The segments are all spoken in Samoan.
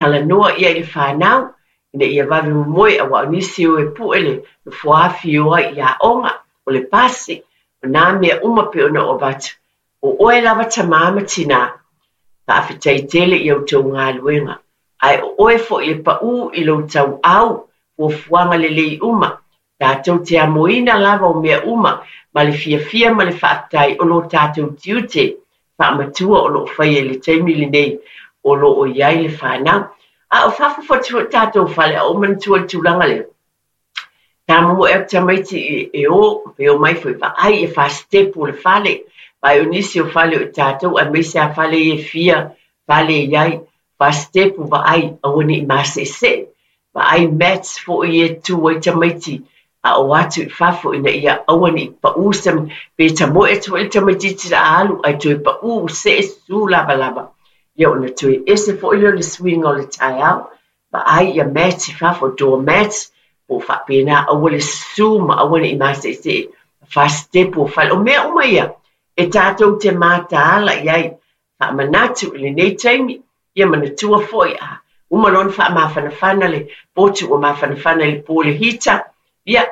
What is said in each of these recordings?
Talanoa ia i le fanau ina ia vave momoe aua o nisi e o e pue le nofoa afi e o ai i aoga, o le pasi, o nā mea uma pei ona ou avatu. O oe lava tamā ma tinā, faafetai tele i a outou galuega, ae o oe foi e paū i lou tauau fuafuaga lelei uma, tatou te amoina lava o mea uma ma le fiafia ma le faafetai o lo tatou tiute faamatua o lo o faia i le taimi lenei o lo o i ai le fanau. A o fafo atu foi tatou fale, a ou manatua i le tulaga lea, tamomoe atu tamaiti e o, pe o mai foi vaai e fasitepu o le fale, vaai o nisi o fale o i tatou, aemaise a fale ia e fia fale i ai, fasitepu vaai, aua ne i maseesee, vaai mats foi e tu ai tamaiti a o atu i fafo ina ia aua ne i paū se, pe tamoe atu foi le tamaitiiti la a alu ae toe paū see susu lavalava. Ia ona toe ese foi lea o le suiga o le taeao, vaai ia mats i fafo, door mats, po o faapena aua le susu ma aua ne i maseesee fasitepu o fale. O mea uma ia e tatou te mataala i ai, faamanatu i lenei taimi, ia manatua foi a uma loa ona faamafanafana le potu ua mafanafana i le po le hita, ia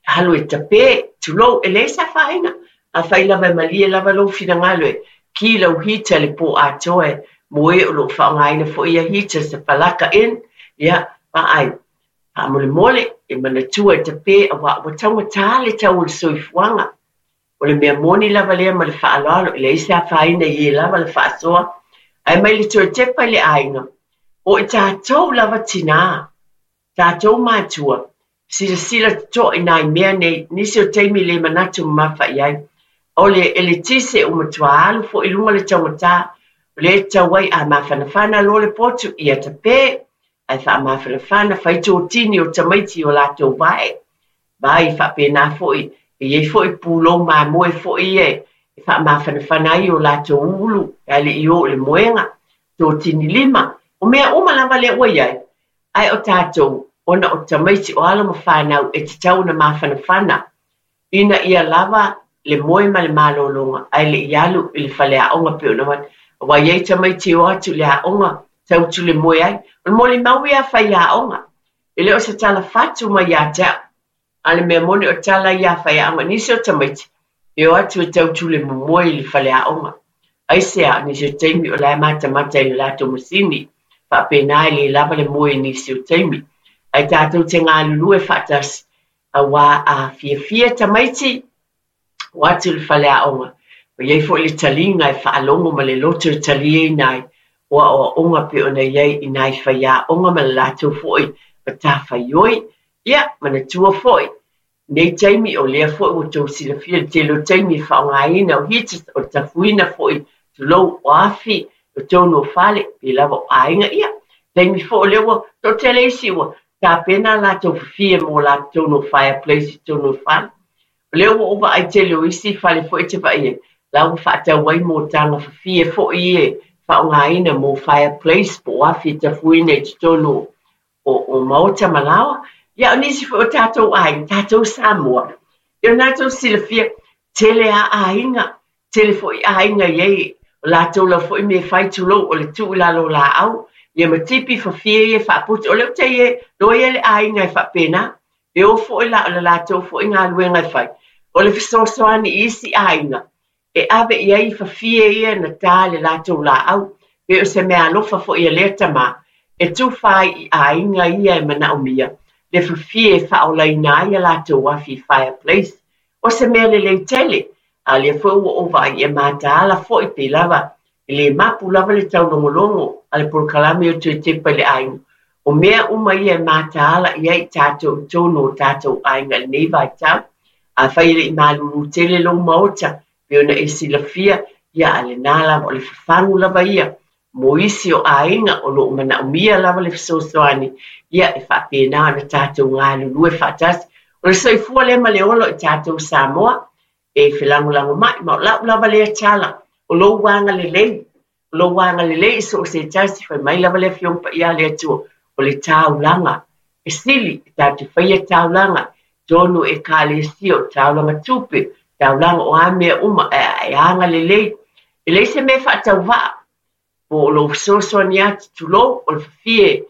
alu e tape, tulou, e leai se afaina. Afai lava e malie lava lou finagalo e ki lau hita le po atoa e mo e o loo faaaogaina foi ia hita se palaka in, ia vaai, faamolemole e manatua e tape aua ua taugata le tau o le soifuaga. O le mea moni lava lea ma le faaaloalo, e leai se afaina i e lava le faasoa, ae mai le toe tepa i le aiga, o i tatou lava tinā, tatou matua, silasila totoa i nai mea nei, nisi o taimi le manatu mamafa i ai. O le eletise ua matua alu foi i luga le taugata, o lea e tatau ai a mafanafana loa le potu, ia tape, ae faamafanafana, fai totini o tamaiti i o latou vae. Vai faapena foi, e i ai foi pulou mamoe foi ia e faamafanafana ai o latou ulu, ae le i o i le moega, totini lima. O mea uma lava lea ua i ai, ae o tatou, ona o tamaiti o alo ma fanau e tatau ona mafanafana, ina ia lava le moe ma le malologa, ae le i alu i le faleaoga pei ona avatu. Aua e i ai tamaiti e o atu i le aoga, tau le moe ai. O le molimau ia faiaoga, e le o se tala fatu mai ia te au. A le mea moni o tala ia faiaoga, nisi o tamaiti, e o atu e tau le momoe i le faleaoga. Aisea, nisi o taimi o la e matamata i le latou masini, faapena e le lava le moe i nisi o taimi. Ae tatou te galulue faatasi, aua a fiafia tamaiti, o atu i le faleaoga. Ua i ai foi le taliga e faalogo ma le loto e taliaina ai, o aoaoga pei ona i ai i nai faiaoga ma le latou foi matafaioi. Ia, manatua foi, nei taimi o lea foi ua tou silafia le tele o taimi e faaaogaina o heaters, o le tafuina foi, tulou, o afi, o totonu o fale, pe lava o aiga. Ia, taimi foi o lea ua toatele isi ua tapena latou fafie mo latou totonu o fireplace i totonu o fale. O lea ua ou vaai tele o isi fale foi e te vaai ai, la ua faatau ai motaga fafie foi ia e faaaogaina mo fireplace po o afi e tafuina i totonu o maota ma laoa. Ia, o nisi foi o tatou aiga, tatou Samoa, ia o latou silafia, tele a aiga, tele foi aiga i ai, o latou lava foi mea e fai tulou, o le tuu i lalo o laau, ia ma tipi fafie ia e faaputu. O lea ua tai e, loa ia le aiga e faapena, e o foi la o le latou foi galuega e fai. O le fesoasoani i isi aiga, e ave i ai fafie ia na tā le latou laau, pe o se mea alofa foi a lea tamā, e tufa ai i aiga ia e manaomia, le fafie e faaolaina ai a latou afi fireplace. O se mea lelei tele, a lea foi ua ou vaai e mataala foi pe lava, e le mapu lava le taulogologo a le polokalame o toe tepa i le aiga. O mea uma ia e mataala i ai tatou i totonu o tatou aiga i lenei vaitau. Afai e le i malulu tele lou maota, pe ona e silafia, ia a lena lava, o le fafagu lava ia, mo isi o aiga o loo manaomia lava le fesoasoani, ia e faapena ona tatou galulue faatasi. O le soifua lea ma le ola o i tatou Samoa, e felagolagomai, ma o lau lava lea tala, o lou agalelei, o lou agalelei i so o se tasi, fai mai lava le Afioga Paia a le Atua, o le taulaga, e sili, e tatou faia taulaga, tonu ekalesia o taulaga tupe, taulaga o a mea uma, e agalelei. E leai se mea faatauvaa. Po o lou fesoasoani atu, tulou, o le fafie.